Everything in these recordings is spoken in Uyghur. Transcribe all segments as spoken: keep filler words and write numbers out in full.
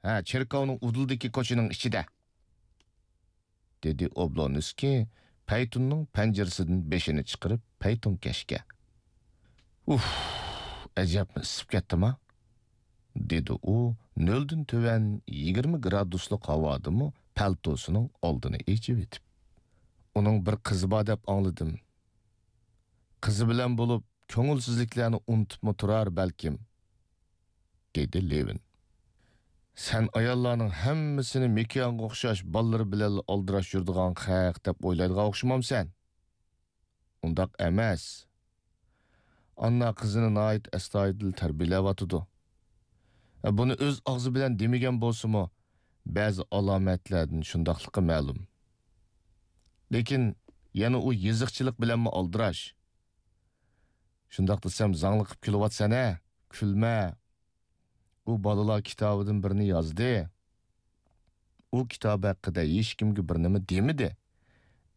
ھە، چېركاۋنىڭ ئۇدۇلدىكى كوچىنىڭ ئىچىدە، دېدى ئوبلونسكىي پەيتۇننىڭ پەنجىرىسىدىن بېشىنى چىقىرىپ پەيتۇنكەشكە. ئۇھ، ئەجەبمۇ ئىسسىپ كەتتىما؟ دېدى ئۇ نۆلدىن تۆۋەن يىگىرمە گرادۇسلۇق ھاۋادىمۇ پەلتوسىنىڭ ئالدىنى ئېچىۋېتىپ. ئۇنىڭ بىر قىزى بار دەپ ئاڭلىدىم. قىزى بىلەن بولۇپ، كۆڭۈلسىزلىكلەرنى ئۇنتۇپمۇ تۇرار بەلكىم، دېدى لېۋىن. سەن ئاياللارنىڭ ھەممىسىنى مىكيانغا ئوخشاش بالىلىرى بىلەنلا ئالدىراش يۈرىدىغان خەق دەپ ئويلايدىغان ئوخشىمامسەن؟ ئۇنداق ئەمەس. ئاننا قىزىنى ناھايىتى ئەستايىدىل تەربىيەلەۋاتىدۇ. بۇنى ئۆز ئاغزى بىلەن دېمىگەن بولسىمۇ، بەزى ئالامەتلەردىن شۇنداقلىقى مەلۇم. لېكىن يەنە ئۇ يېزىقچىلىق بىلەنمۇ ئالدىراش. شۇنداق دېسەم زاڭلىقىپ كۈلۈۋاتىسەن ھە؟ كۈلمە. ئۇ بالىلار كىتابىدىن بىرنى يازدى. ئۇ كىتاب ھەققىدە ھېچكىمگە بىر نېمە دېمىدى.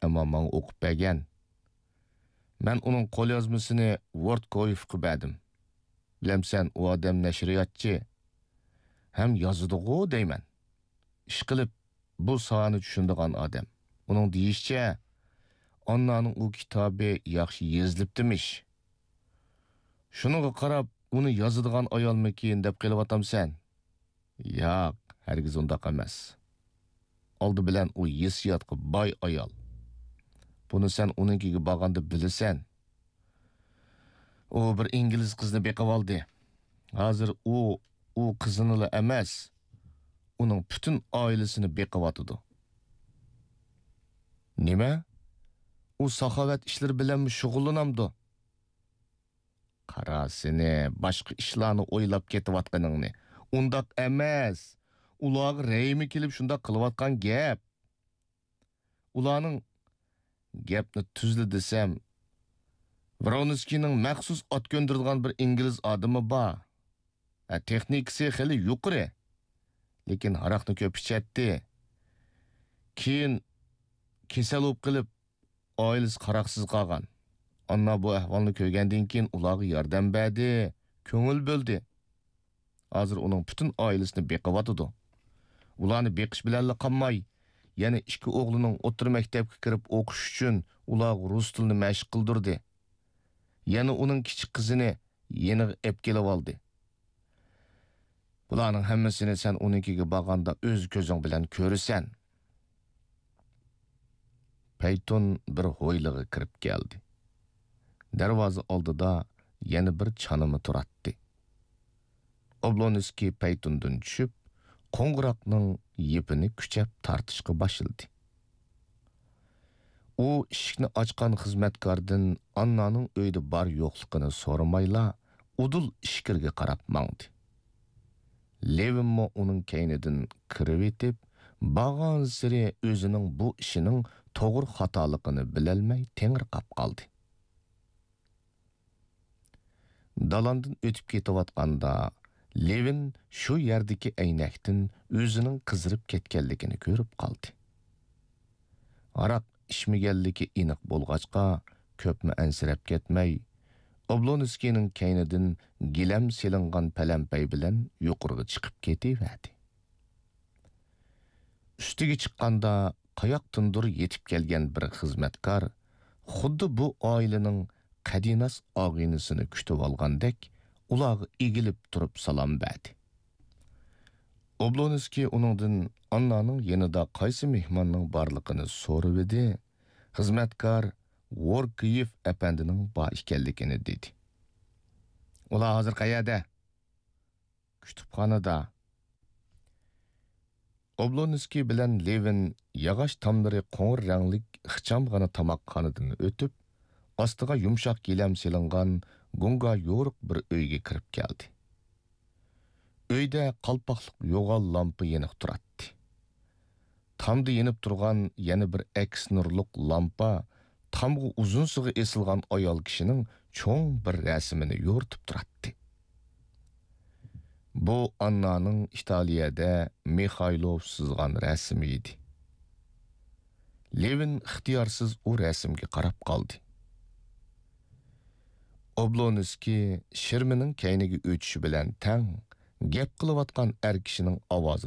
ئەمما ماڭا ئوقۇپ بەرگەن. مەن ئۇنىڭ قوليازمىسىنى ۋورتكويېفقا بەردىم. بىلەمسەن، ئۇ ئادەم نەشرىياتچى. ھەم يازىدىغۇ دەيمەن. ئىشقىلىپ، بۇ ساھەنى چۈشىنىدىغان ئادەم. ئۇنىڭ دېيىشىچە، ئاننانىڭ ئۇ كىتابى ياخشى يېزىلىپتىمىش. شۇنىڭغا قاراپ، ئۇنى يازىدىغان ئايالمىكىن دەپ قېلىۋاتامسەن؟ ياق، ھەرگىز ئۇنداق ئەمەس. ئالدى بىلەن ئۇ ھېسسىياتقا باي ئايال. بۇنى سەن ئۇنىڭكىگە بارغاندا بىلىسەن. ئۇ بىر ئىنگلىز قىزنى بېقىۋالدى. ھازىر ئۇ، ئۇ قىزىنىلا ئەمەس، ئۇنىڭ پۈتۈن ئائىلىسىنى بېقىۋاتىدۇ. نېمە؟ ئۇ ساخاۋەت ئىشلىرى بىلەنمۇ شۇغۇللىنامدۇ؟ قارا سېنى، باشقا ئىشلارنى ئويلاپ كېتىۋاتقىنىڭنى. ئۇنداق ئەمەس. ئۇلارغا رەھىمى كېلىپ شۇنداق قىلىۋاتقان گەپ. ئۇلارنىڭ، گەپنى تۈزلا دېسەم، ۋرونسكىينىڭ مەخسۇس ئات كۆندۈرىدىغان بىر ئىنگلىز ئادىمى بار. ھە، تېخنىكىسى خېلى يۇقىرى. لېكىن ھاراقنى كۆپ ئىچەتتى. كېيىن كېسەل بولۇپ قېلىپ، ئائىلىسى قاراقسىز قالغان. ئاننا بۇ ئەھۋالنى كۆرگەندىن كېيىن ئۇلارغا ياردەم بەردى، كۆڭۈل بۆلدى. ھازىر ئۇنىڭ پۈتۈن ئائىلىسىنى بېقىۋاتىدۇ. ئۇلارنى بېقىش بىلەنلا قالماي، يەنە ئىككى ئوغلىنىڭ ئوتتۇرا مەكتەپكە كىرىپ ئوقۇشى ئۈچۈن ئۇلارغا رۇس تىلىنى مەشىق قىلدۇردى. يەنە ئۇنىڭ كىچىك قىزىنى يېنىغا ئەپ كېلىۋالدى. بۇلارنىڭ ھەممىسىنى سەن ئۇنىڭكىگە بارغاندا ئۆز كۆزۈڭ بىلەن كۆرىسەن. پەيتۇن بىر ھويلىغا كىرىپ كەلدى. دەرۋازا ئالدىدا يەنە بىر چانىما تۇراتتى. ئوبلونسكىي پەيتۇندىن چۈشۈپ، قوڭغۇراقنىڭ يىپىنى كۈچەپ تارتىشقا باشلىدى. ئۇ ئىشىكنى ئاچقان خىزمەتكاردىن ئاننانىڭ ئۆيدە بار يوقلۇقىنى سورىمايلا، ئۇدۇل ئىچكىرىگە قاراپ ماڭدى. لېۋىنمۇ ئۇنىڭ كەينىدىن كىرىۋېتىپ، بارغانسېرى ئۆزىنىڭ بۇ ئىشىنىڭ توغرا خاتالىقىنى بىلەلمەي تېڭىرقاپ قالدى. دالاندىن ئۆتۈپ كېتىۋاتقاندا، لېۋىن شۇ يەردىكى ئەينەكتىن ئۆزىنىڭ قىزىرىپ كەتكەنلىكىنى كۆرۈپ قالدى. ھاراق ئىچمىگەنلىكى ئېنىق بولغاچقا، كۆپمۇ ئەنسىرەپ كەتمەي، ئوبلونسكىينىڭ كەينىدىن گىلەم سېلىنغان پەلەمپەي بىلەن يۇقىرىغا چىقىپ كېتىۋەردى. ئۈستىگە چىققاندا، قاياقتىندۇر يېتىپ كەلگەن بىر خىزمەتكار خۇددى بۇ ئائىلىنىڭ قەدىناس ئاغىنىسىنى كۈتۈۋالغاندەك، ئۇلارغا ئېگىلىپ تۇرۇپ سالام بەردى. ئوبلونسكىي ئۇنىڭدىن ئاننانىڭ يېنىدا قايسى مېھماننىڭ بارلىقىنى سورىۋىدى، خىزمەتكار ۋوركىيېف ئەپەندىنىڭ بار ئىكەنلىكىنى دېدى. ئۇلار ھازىر قەيەردە؟ كۇتۇپخانىدا. ئوبلونسكىي بىلەن لېۋىن ياغاچ تاملىرى قوڭۇر رەڭلىك ئىخچامغىنا تاماقخانىدىن ئۆتۈپ، ئاستىغا يۇمشاق گىلەم سېلىنغان گۇڭگا يورۇق بىر ئۆيگە كىرىپ كەلدى. ئۆيدە قالپاقلىق يوغان لامپا يېنىق تۇراتتى. تامدا يېنىپ تۇرغان يەنە بىر ئەكس نۇرلۇق لامپا تامغا ئۇزۇنسىغا ئېسىلغان ئايال كىشىنىڭ چوڭ بىر رەسىمىنى يورۇتۇپ تۇراتتى. بۇ ئاننانىڭ ئىتالىيەدە مىخايلوف سىزغان رەسىمى ئىدى. لېۋىن ئىختىيارسىز ئۇ رەسىمگە قاراپ قالدى. ئوبلونسكىي شىرمىنىڭ كەينىگە ئۆتۈشى بىلەن تەڭ، گەپ قىلىۋاتقان ئەر كىشىنىڭ ئاۋازى